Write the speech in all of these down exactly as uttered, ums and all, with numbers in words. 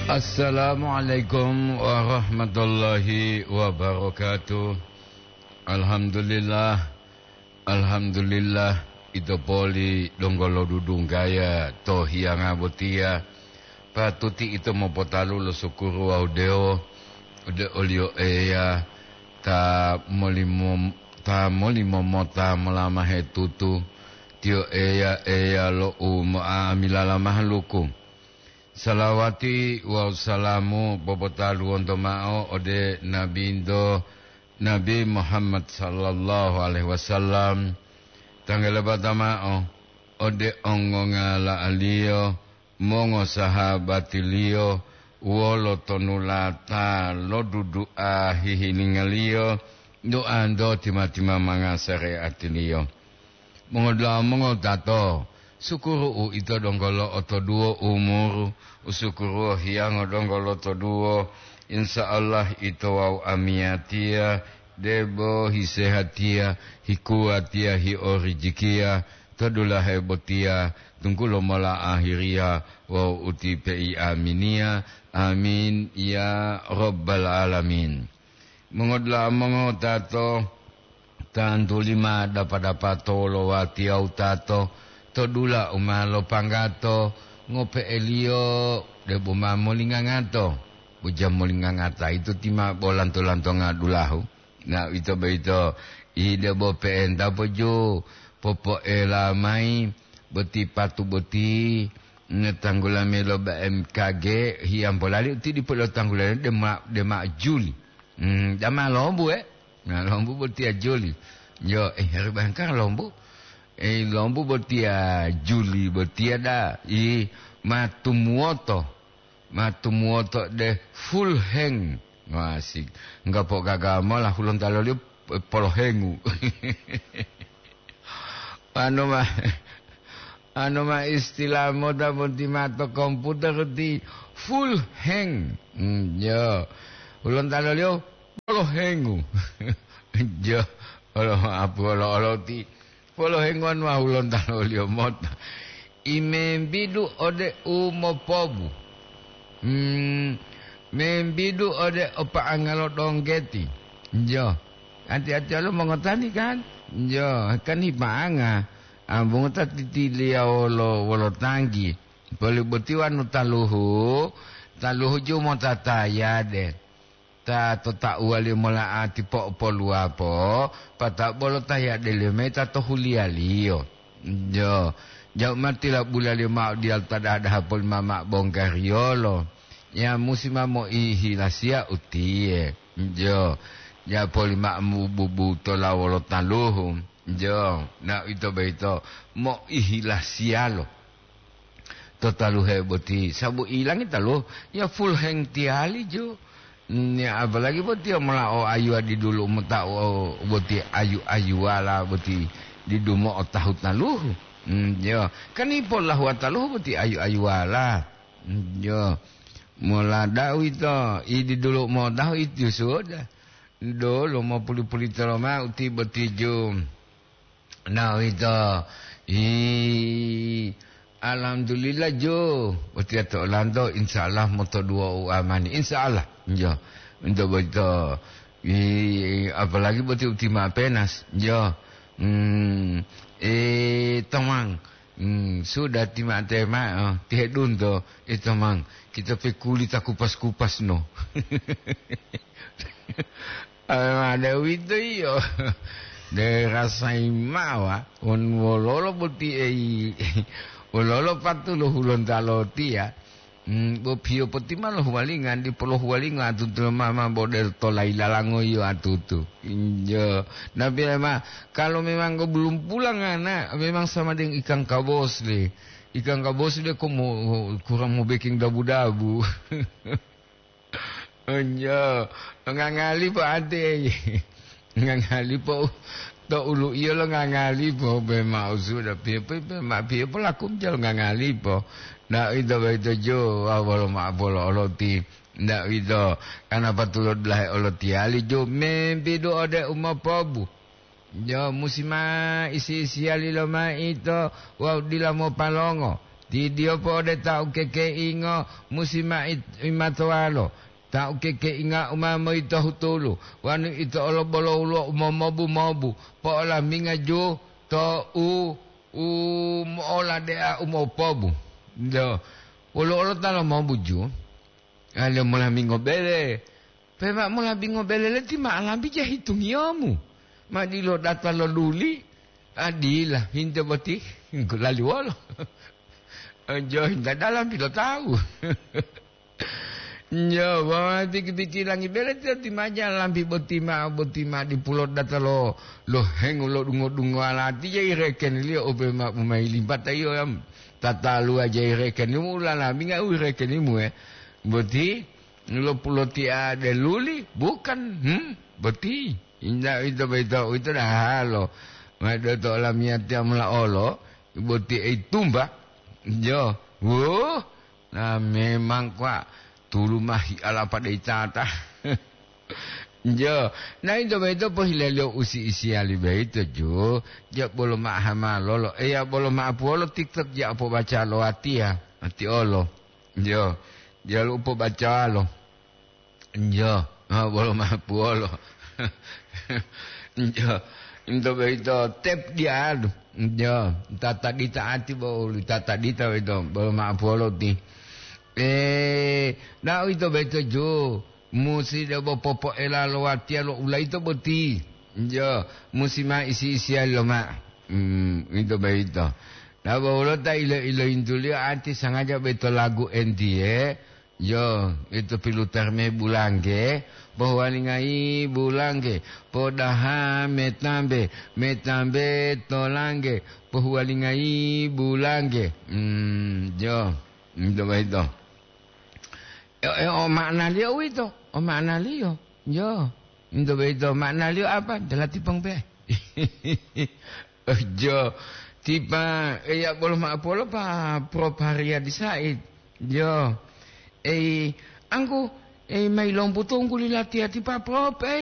Assalamualaikum warahmatullahi wabarakatuh. Alhamdulillah, alhamdulillah, ito poli donggo lodudunggaya to hiyanga botiya. Patuti ito mopotalu lo sukuru wawu dewo ode oliyo Eya ta molimo, ta molimo mota molamahe tutu. Tiyo Eya, Eya lo umo'amilala mahaluku. Salawati wawu salamu popotaluwonto mao ode Nabinto, Nabi Muhammad sallallahu alaihi wasallam, tanggalabata mao ode ongongala'aliyo, mongosahabatiliyo, wolo tonulata lo dudu'a hihilinga-Liyo, duanto tima-timamanga sareatiliyo. Mongodula'a mongotato, sukuru uito donggo lo'otoduwo umuru, usukuruwo hiyango donggo lotoduwo. Insya Allah ito wawu amiyatiya, debo hisehatiya, hikuwatiya, hiorijikiya, to dulahe botiya, tunggulo mola ahiriya wawu uti peiaminiya. Amin, ya Rabbal Alamin. Mongodula'a mongotato, tantu lima dapa-dapa to wolowatiya wutato, to dula u ma lopanggato, ngope'eliyo debo ma molingangato. Bo jam molingangata ito tima bo lanto-lantonga dulahu. Na uwito boyito, i debo pe'enta poju, popoela mayi boti patu boti, ne tanggula melo B M K G, hiyambo lali uti dipo lo tanggula dema, dema juli. Hmm, dama lombu, eh? Na lombu botiya juli. Yo, eh, hari bayangkan lombu. Eh, lombu botiya juli botiya da. I matumuwoto. Matumuwoto de full hang. Wah, asik. Enggak po gaga mola hulontalo liyo, eh, polohengu. Anu ma, anu ma istilah moda monti mato komputer ti full hang. Hmm, yo. Hulontalo liyo polohengu. Jo, olo apu olo-olo ti polohenguwan wawu lontaloliyo mota. I membidu ode u mopobu. Hmm, membidu ode o pa'anga lo donggeti. Jo, ati-atiyalo mongotani kan? Jo, kan hipa'anga. Ambungu ta titiliya wolo, wolo tanggi. Poli boti wanu taluhu, taluhu ju mota tayade. Ta to tauwaliyo mola'ati po'opoluwapo, pata'u bolo ta yadeliyo mayi ta to huliyaliyo. Jo, ja'u ma tilabulaliyo ma'o diyalu ta daha-daha polimama bonggariyolo. Ya musi ma moihilasiya utiye. Jo, ja polima'o mububutola wolo taluhu. Jo, na uwito boyito moihilasiyalo. To taluhe boti, sabu ilangi taluhu, ya full hang tiyali jo. Ni apalagi boti ya mola o ayuwa didulu mota o boti ayu-ayuwala boti didumo o tahu taluhu. Hmm, yo, kan ipo lahuwa taluhu boti ayu-ayuwala. Hmm, yo, mola da'a uwito, i didulu motahu itiyo suwoda. Dolo mopuli-pulitolo ma'o uti boti jo. Na uwito, i, alhamdulillah jo, botiya to olanto, insya Allah motoduwo u amani, insya Allah, jo. Untuk boyito, i, apalagi boti uti ma penas, jo. Hmm, e, tomang, hmm, sudah tima-, tema, oh, tihedunto, e, tomang, kita pe kuli ta kupas-kupas no. Awe ma de uwito iyo, de rasayi ma'o, wonu wololo boti eyi, wololo patulo hulontalotiya, mm, bo piyo poti ma lohuwalinga, dipo lohuwalinga atutu lo mama bo de to layi lalango iyo atutu. Injo, nabi ma, kalau memang belum pulang ana, memang sama dengan ikan kabos le. Ikan kabos le ko mo, kurang mo beking dabu-dabu. Onjo, ngangali po ate. Ngangali po to ulu iyo lo ngangali po pe ma'o suda piye po pe ma piye po lakum jalo ngangali po. Na ito boyito jo, wolo ma polo oloti. Nda uwito, kana patulodulahe olotiyali ju membidu ode umopobu. Jo musi ma isi-isiyali lomaito wawu dila mopalongo. Tidiyo po'ode ta ukekeingo musi ma it-, imatowalo, ta ukekeinga u ma moyitohu tulu, wonu ito olo bolo woluwo u momobu-mobu, po'olaminga ju to u, u mo'oladea u mopobu. Do, woluwo olo ta lomobu ju, a, le molamingo bele. Pe ma mola bingo beleleti ma alambi jahitungiyomu. Ma dilo data lo duli, a dila, hinte boti, lali wolo. Jo, hinta dalam pilo tawu. Jo, wawa tiki-tiki langi beleti ti maja lambi boti ma, boti ma dipulo data lo, lo hengu lo dungo-dungo alati jai rekeniliyo ope ma umai limpata iyo yam. Tatalu aja irekenimu, ulalami nggak irekenimu, eh. Boti, Lo pulotiya de luli, bukan? Hmm, boti. Inda ito boyito, ito dahalo. Mayi do to olamiyatiya mola olo, boti ei tumba. Jo, wuh, na memang kwa tulu mahi alapa dei tata. Jo, na ito boyito pohilaliyo usi isiyali boyito, jo. Ja bolo ma'aha malolo, eya bolo ma'apuwolo TikTok ja pobaca lo watiya, ati olo. Jo, diyalu u pobacawalo. Jo, ma bolo mapuwolo. Jo, into boyito tep diyalu. Jo, tata dita ati bo uli tata dita boyito, bolo mapuwolo ti. Eh, na uwito boyito ju, musi debo popoela lo watiya lo ulayito boti. Jo, musi ma isi-isiya loma. Hmm, uwito boyito. Na bo wolo ta ilo-iloyintuliyo ati sangaja boyito lagu entiye, Yo, ito pilutar me bulangge, pohuwalingayi bulangge, podaha metambe, metambe tolangge, pohuwalingayi bulangge. Hmm, jo, ito boyito. E, e, o ma'analiyo uwito, o ma'analiyo. Yo, ito boyito, ma'analiyo apa? Dala tipong pe. Jo, tipa, eya bolo ma'apolo pa Prof Haryadi Said. Jo, ei, angku, ei, mayi lombu tunggu li latiya tipa Prof, ei.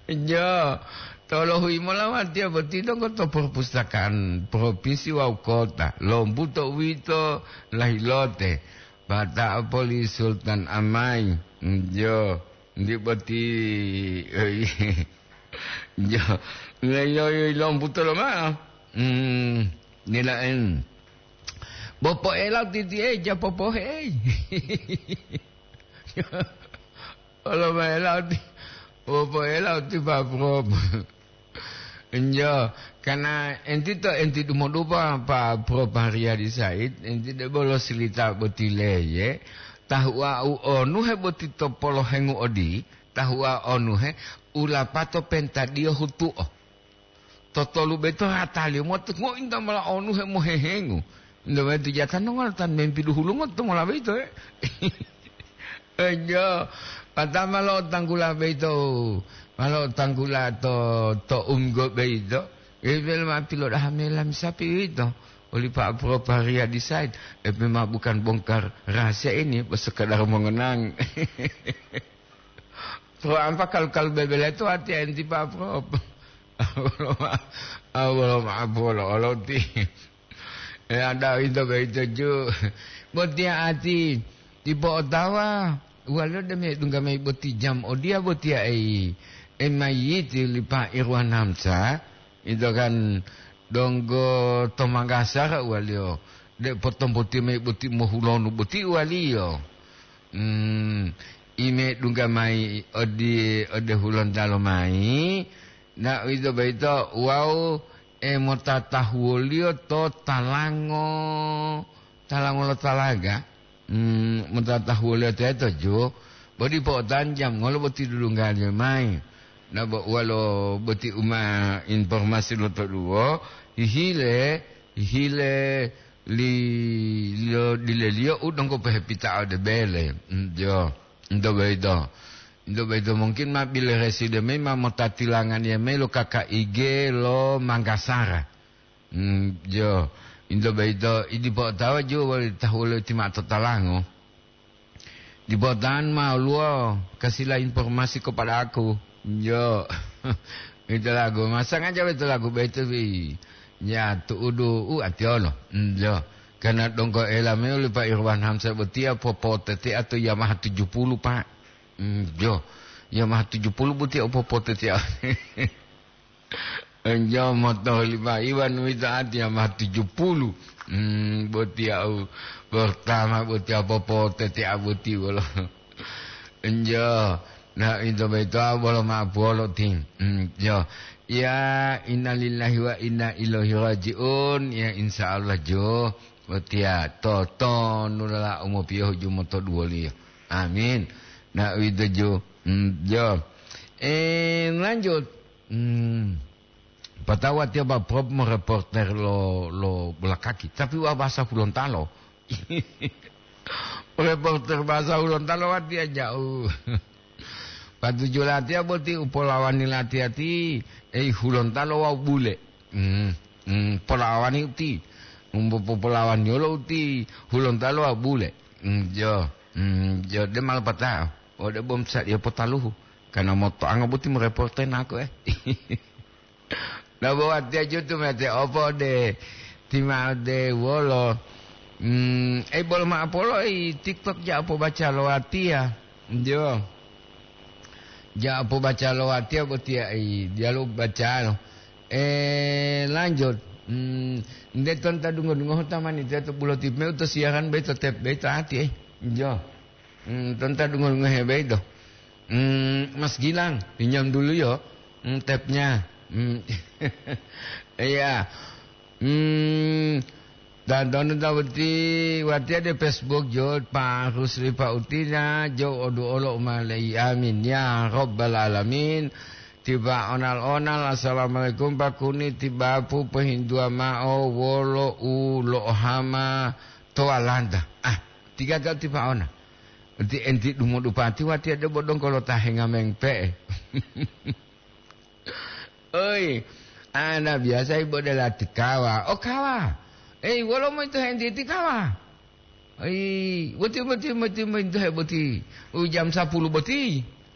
Jo, tolohui mola watiya boti donggo to perpustakaan provinsi wawu kota. Lombu to uwito lahilote. Pata'o poli Sultan Amai. Jo, ndi boti, ei. Jo, yo, yo, yo, lombuto lomao. Hmm, nila'en. Bo po'ela titi'e, ja popohei. Olo maela ti, bo po'ela ti Pak Prof. Jo, karena enti to, enti dumodupa Pak Prof Haryadi Said, enti debo lo silita boti leye, tahu'a u onuhe boti to polohengu odi, Tahu'a onuhe, u lapato pentadiyo hutu'o. Totolu boyito rataliyo moti ngointa mola onuhe mohehengu. Nto boyito jatano ngolo tan mempi duhulungo to mola boyito, eh. Ejo, pata ma lo'otanggula boyito, ma lo'otanggula to, to umgo boyito. Ebe ma pilodaha mela misapi uwito. Oli Pak Prof Haryadi Said, epe ma bukan bongkar rahasia ini, bo sekedar mongenang. Pro ampa kalu-kalu bebele to ati enti Pak Prof. Awolo ma-, awolo ma'apolo oloti. E ada ito boyito ju. Botiya ati dipo otawa. Walo deme dungga mayi boti jam odiya botiya ei. E mayiti li Pak Irwan Hamzah. Ito kan donggo to Makassar uwaliyo. De potombotiyo mayi boti mohulonu boti uwaliyo. Hmm, ime dungga mayi odi-, ode Hulontalo mayi, na uwito boyito wawu, e, motatahuwoliyo to talango, talango lo talaga, hmm, motatahuwoliyo teto ju, bo dipo otanjam ngolo boti dudunggaliyo mayi. Na bo uwalo boti uma informasi lo toduwo, hihile, hihile, Li-, liyo dileliyo u donggo pohepita'o ode bele. Mm, jo. Nto boyito. Nto boyito mungkin ma bile reside mayi ma motatilanganiya mayi lo K K I G lo Manggasara. Mm, jo. Nto boyito, i dipo otawa ju woli tahulo ti ma'o to talango. Dipo tan ma oluwo kasila informasi kepada aku. Jo. Ito lagu. Ma sangaja ito lagu boyito wi. Ya, tu'udu u atiyolo. Mm, jo. Karena donggo ela meuli Pak Irwan Hamzah botiya popotetea to Yamaha tujuh puluh, Pak. Mm, jo. Yamaha tujuh puluh botiya popotetea. Enjo moto lima iwan wito ati Yamaha tujuh puluh. Mm, botiya u pertama botiya popotetea boti wolo. Enjo. Na, ito boyito bolo ma'o puwolo ti. Mm, jo. Ya, innalillahi wa inna ilaihi raji'un. Ya, insya Allah, jo. Botiya, totonulala u mopiyohu ju motoduwoliyo. Amin. Na, uwito ju. Mm, jo. Eh, lanjut. Mm. Patawa tiyo ba prob mo reporter lo, lo bola kaki. Tapi wa bahasa Hulontalo. Reporter bahasa Hulontalo watiya ja'u. Patuju latiya boti u polawani latiya ti, ei, Hulontalo wawu bule. Hmm, hmm, polawani uti. Umbo popolawani olo uti, Hulontalo wawu bule. Hmm, jo, hmm, jo, de malapatao. Ode bom sa dia potaluhu. Karena motoango boti mo reporter nako, eh. Nabo watiya jutu mete opo de timade wolo. Mm, ei, bolo ma'o polo i TikTok ja pobaca lo watiya. Jo. Ja pobaca lo watiya botiya i diyalu bacalo. Eh, lanjut. Mm, nde tonta dungo-dungohu tamani teto bulo tip meu to siaran beito tep beito ati, eh. Jo. Hmm, tonta dungo-dungohe beito. Hmm, Mas Gilang, pinjam dulu yo, hmm, tapnya. Hmm. Iya. Hmm, dan tonu ta boti watiya de Facebook jo, Pak Rusli Pak Utina, jo odu olo umalei. Amin. Ya Rabbal Alamin. Tiba onal-onal, "Assalamualaikum, Pak Kuni, tiba pu pehindua ma'o wolo u lo'ohama to Walanda." Ah, tiga kali tipa ona. Enti, enti dumodupa tiwa tiya debo donggo lo ta hengameng pe'e. Oi, ana biasa ibo dela tikawa. O kawa. Ei, wolo mo ito henti tikawa? Ei, boti, boti, boti, boti, boti, boti. U jam sapuluh boti.